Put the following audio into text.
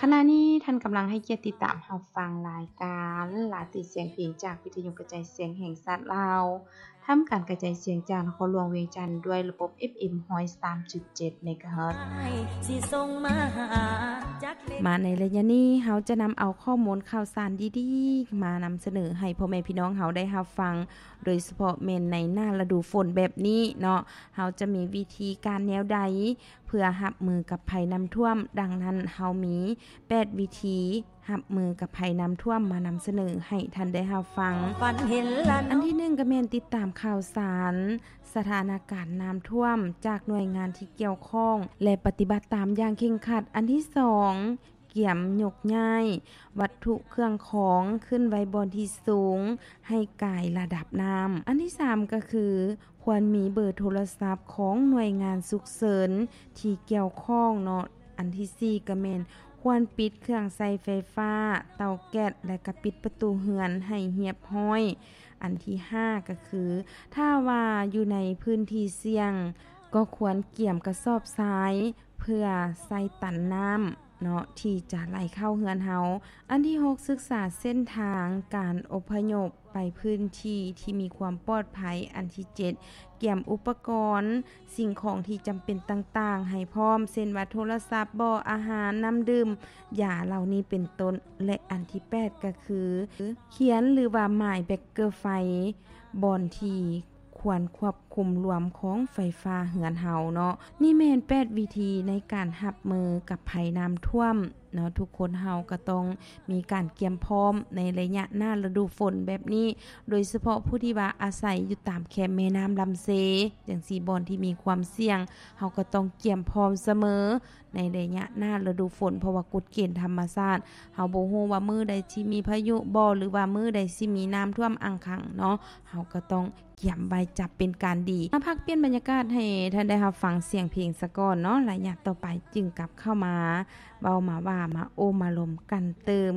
ຂະນະນີ້ທ່ານກຳລັງໃຫ້ກຽດຕິດຕາມຮັບຟັງລາຍການລາຕີສຽງເພງ ຈາກວິທະຍຸກະຈາຍສຽງແຫ່ງຊາດລາວ, ທຳການກະຈາຍສຽງຈາກນະຄອນຫຼວງວຽງຈັນ ດ້ວຍລະບົບ ເອັຟເອັມ ຮ້ອຍສາມຈຸດເຈັດ ເມກາເຮີດ. ມາໃນໄລຍະນີ້ ເຮົາຈະນຳເອົາຂໍ້ມູນຂ່າວສານດີໆ ມານຳສະເໜີໃຫ້ພໍ່ແມ່ພີ່ນ້ອງເຮົາໄດ້ຮັບຟັງ, ໂດຍສະເພາະແມ່ນໃນໜ້າລະດູຝົນແບບນີ້ເນາະ, ເຮົາຈະມີວິທີການແນວໃດ ເພື່ອຮັບມືກັບໄພນ້ຳຖ້ວມ. ດັ່ງນັ້ນ ເຮົາມີແປດວິທີຮັບມືກັບໄພນ້ຳຖ້ວມມານຳສະເໜີໃຫ້ທ່ານໄດ້ຮັບຟັງ. ອັນທີໜຶ່ງກໍແມ່ນຕິດຕາມຂ່າວສານສະຖານະການນ້ຳຖ້ວມຈາກໜ່ວຍງານທີ່ກ່ຽວຂ້ອງ ແລະ ປະຕິບັດຕາມຢ່າງເຄັ່ງຄັດ. ອັນທີສອງ ກຽມຍົກຍ້າຍວັດຖຸເຄື່ອງຂອງຂຶ້ນໄວ້ບ່ອນທີ່ສູງໃຫ້ກາຍລະດັບນ້ຳ. ອັນທີສາມກໍຄື ຄວນມີເບີໂທລະສັບຂອງໜ່ວຍງານສຸກເສີນທີ່ກ່ຽວຂ້ອງເນາະ. ອັນທີສີ່ກໍແມ່ນຄວນປິດເຄື່ອງໃຊ້ໄຟຟ້າ, ເຕົາແກັສ ແລະ ກໍປິດປະຕູເຮືອນໃຫ້ຮຽບຮ້ອຍ. ອັນທີຫ້າກໍຄື ຖ້າວ່າຢູ່ໃນພື້ນທີ່ສ່ຽງ ກໍຄວນກຽມກະສອບຊາຍເພື່ອໃສ່ຕັນນ້ຳເນາະ ທີ່ຈະໄຫຼເຂົ້າເຮືອນເຮົາ. ອັນທີຫົກ ສຶກສາເສັ້ນທາງການອົບພະຍົບໄປພື້ນທີ່ທີ່ມີຄວາມປອດໄພ. ອັນທີເຈັດ ກຽມອຸປະກອນສິ່ງຂອງທີ່ຈຳເປັນຕ່າງໆໃຫ້ພ້ອມ ເຊັ່ນວ່າ ໂທລະສັບບໍ ອາຫານ, ນ້ຳດື່ມ, ຢາເຫຼົ່ານີ້ເປັນຕົ້ນ. ແລະ ອັນທີແປດກໍຄື ຂຽນ ຫຼືວ່າໝາຍເບຣກເກີໄຟ ບ່ອນທີ່ຄວນຄວບຄຸມລວມຂອງໄຟຟ້າເຮືອນເຮົາເນາະ. ນີ້ແມ່ນແປດວິທີໃນການຮັບມືກັບໄພນ້ຳຖ້ວມເນາະ. ທຸກຄົນເຮົາກໍຕ້ອງມີການກຽມພ້ອມໃນໄລຍະໜ້າລະດູຝົນແບບນີ້, ໂດຍສະເພາະຜູ້ທີ່ວ່າອາໄສຢູ່ຕາມແຄມແມ່ນ້ຳລຳເຊ ຈັ່ງຊີ້ ບ່ອນທີ່ມີຄວາມສ່ຽງ ເຮົາກໍຕ້ອງກຽມພ້ອມສະເໝີໃນໄລຍະໜ້າລະດູຝົນ, ເພາະວ່າກົດເກນທຳມະຊາດ ເຮົາບໍ່ຮູ້ວ່າມື້ໃດຊິມີພາຍຸບໍ ຫຼືວ່າມື້ໃດຊິມີນ້ຳຖ້ວມອັ່ງຄັງເນາະ. ເຮົາກໍຕ້ອງກຽມໄວ້ຈະເປັນການດີ. ມາພັກປ່ຽນບັນຍາກາດໃຫ້ທ່ານໄດ້ຮັບຟັງສຽງເພງສາກ່ອນເນາະ, ໄລຍະຕໍ່ໄປຈຶ່ງກັບເຂົ້າມາເວົ້າມາວ່າ ມາໂອ້ມາລົມກັນຕື່ມ.